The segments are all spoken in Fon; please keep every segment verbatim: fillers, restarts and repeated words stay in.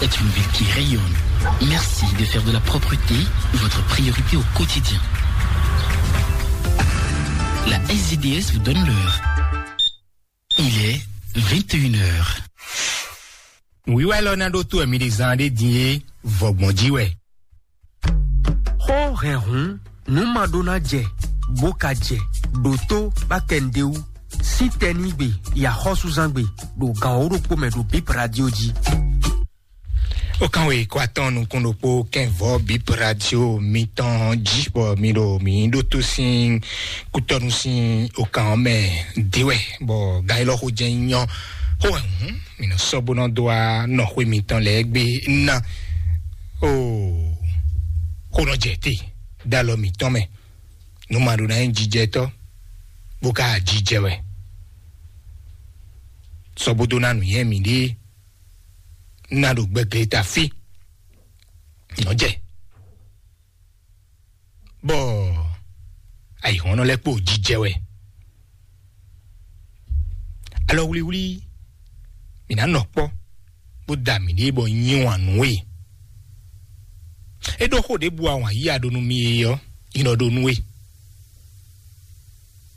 Est une ville qui rayonne. Merci de faire de la propreté votre priorité au quotidien. La S D D S vous donne l'heure. Il est vingt et une heures. Wíwá élɔ́ ná ɖó tó ɛmí ɖé zán ɖé din é, vɔgbɔn jí wɛ. Xó hɛnhun nǔ ma ɖó ná jɛ, bó ka jɛ ɖo tó bá kɛ nǔɖé wú. Sín tɛnígbe yi axɔ́súzángbe ɖo gan wǒ ɖokpó mɛ ɖo Bip Radio jí. Ó kán wě kó atɔ́n nukún ɖokpó kɛnvɔ́ Bip Radio mitɔn jí, bɔ mi ɖo mǐ ɖótó sín kútɔ́nú sín okan ɔ́ mɛ dé wɛ, bɔ gan élɔ́ xó jɛ́n nyɔ́. Xó wɛ hǔn mǐ nɔ sɔ́ bó nɔ dó wá nɔ xwé mitɔn lɛ́ɛ gbé ná. Oo, xó nɔ jɛ te dó alɔ mǐtɔn mɛ. Nǔ ma ɖó ná nyí jijɛtɔ́, bó ka jijɛ wɛ. Sɔ́ bó dó ná nǔnywɛ́ mǐɖée ná ɖo gbɛgleta fí. Nɔ́ jɛ. Bɔ ayǐhɔ́nnɔ lɛ́ɛ kpo jijɛ wɛ. Alɔ wlíwlí, mǐ ná nɔ kpɔ́, bó da mǐɖée bɔ nyi wǎn nú we. É ɖó xó ɖěbǔ a wǎn yíya ɖó nú mì é ɔ́, nyí nɔ ɖó nú we.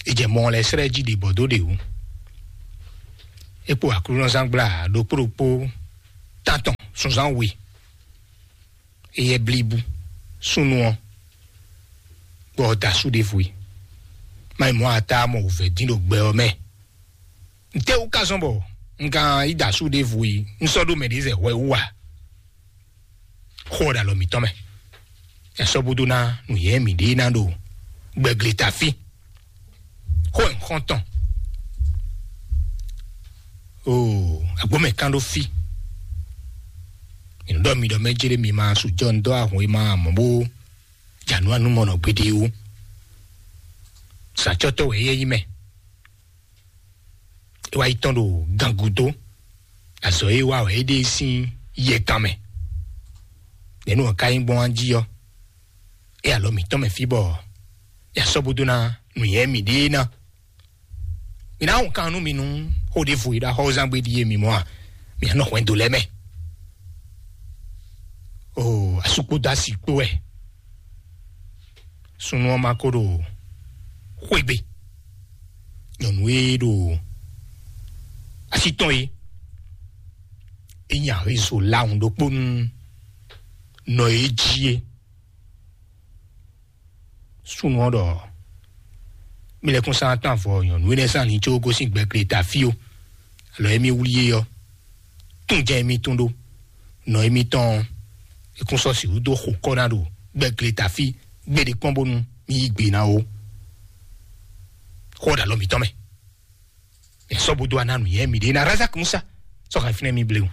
È jɛ mɔ lɛ́ɛ slɛ́ jí ɖě bɔ dó ɖě wú. É kpo aklúnɔzángbla ɖokpó ɖokpó tántɔn sunzán we. Éyɛ́ blíbú súnnu ɔ́, bɔ da asú ɖěvo yi. Má yi mɔ ata mɔ wǔvɛ́ dín ɖo gbɛ ɔ́ mɛ. Ntɛ́wú ka zɔ́n bɔ un ka yi da asú ɖěvo yi, un sɔ́ ɖó mɛ ɖě zɛ hwɛ wú a? Xó ɔ́ ɖo alɔ mǐtɔn mɛ. Ɛ sɔ́ bó dó ná nǔyɛ́ mǐɖée ná ɖo gbɛgleta fí. Xó e un xɔ́n tɔn. Oo, agbǒmɛ kán ɖó fí. Mi nɔ ɖɔ mi ɖɔ mɛ jlé mi ma su jɔ un dɔ́ ahun e ma mɔ bó jǎnú anú mɔ nɔ gbeɖé ó. Sǎcɔ́tɔ́ wɛ éyɛ́ nyí mɛ. É wá yi tɔn ɖo gan gúdo. Azɔ̌ e wa wɛ é ɖe sín yɛ kan mɛ. Nɛ̌ nú ɔ́ ka nyí gbɔn jí ɔ́? É alɔ mǐtɔn mɛ fí bɔ ya sɔ́ bó dó ná nǔnyɛ mǐɖée ná. Mi ná hun kan nú mi nú xó ɖěvo e ɖo axɔ́zán gbe ɖíe mi mɔ a? Mi ná nɔ hwɛndo lɛ́ɛ mɛ. Oo, asú kpódó asi kpó wɛ. Súnnu ɔ́ ma ko ɖo xwé gbe. Nyɔ̌nu e ɖo así tɔn e, é nyi ahezo lawun ɖokpó nú nɔ e jí é. Súnnu ɔ́ ɖɔ: "Mi lɛ́ kún sán tán avɔ nyɔ̌nu énɛ́ sín alin có gosín gbɛgleta fí ó. Alɔ émí wlí é ɔ́, tún jɛ émí tún ɖó. Nɔ émítɔn ɔ́, é kún sɔ́ sixú dó xo kɔ́ ná ɖo gbɛgleta fí gbéɖé kpɔ́n bónú mí yí gbe ná ó." Xó ɔ́ ɖo alɔ mǐtɔn mɛ. Ɛ sɔ́ bó dó aná nǔnyɛ mǐɖée ná Razak Musa sɔ́ hɛn fínɛ́ mì bléwún.